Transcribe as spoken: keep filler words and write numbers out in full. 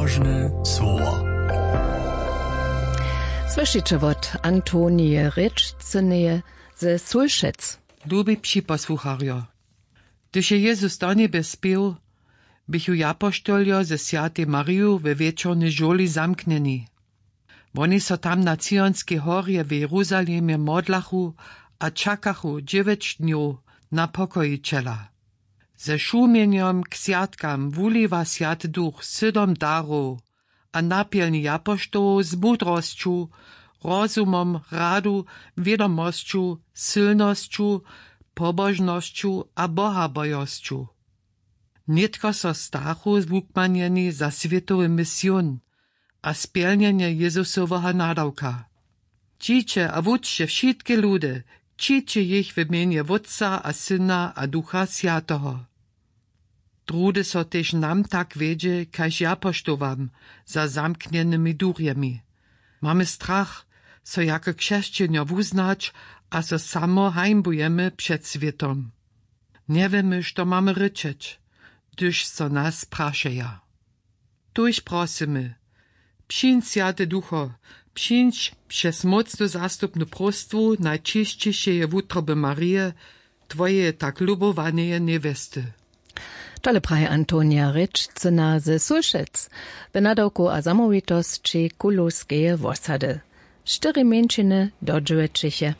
Božne słowo. Słyšiće wot Antonije Rěčcyneje ze Sulšec. Lubi připosłucharjo, hdyž je Jezus do njebje spěł, běchu japoštoljo ze swjatej Mariju we wječornej žurli zamknjeni. Woni so tam na Cionskej horje w Jeruzalemje modlachu a čakachu dźewjeć dnjow na pokojićela. Ze šumjenjom k swjatkam wuliwa Swjaty Duch sydom darow a napjelni japoštołow z mudrosću, rozumom, radu, wědomosću, sylnosću, pobožnosću a bohabojosću. Nětko so stachu zwukmanjeni za swětowy mision a spjelnjenje Jezusoweho nadawka. Čiće a wučće wšitke ludy, čiće jich w mjenje Wótca a Syna a Ducha Swjateho. Druhdy so tež nam tak wjedźe kaž japoštowam za zamknjenymi durjemi. Mamy strach, so jako křesćenjo wuznać a so samo hańbujemy před swětom. Njewěmy što mamy rěčeć, hdyž so nas prašeja. Tuž prosymy: Přińdź, Swjaty Ducho, přińdź přez mócnu zastupnu próstwu najčisćišeje wutroby Marije, twojeje tak lubowaneje njewjesty. Tole praji Antonija Rěčcyna ze Sulšec w nadawku a zamołwitosći Kulowskeje wosady. Štyri mjeńšiny dodźěłećiche.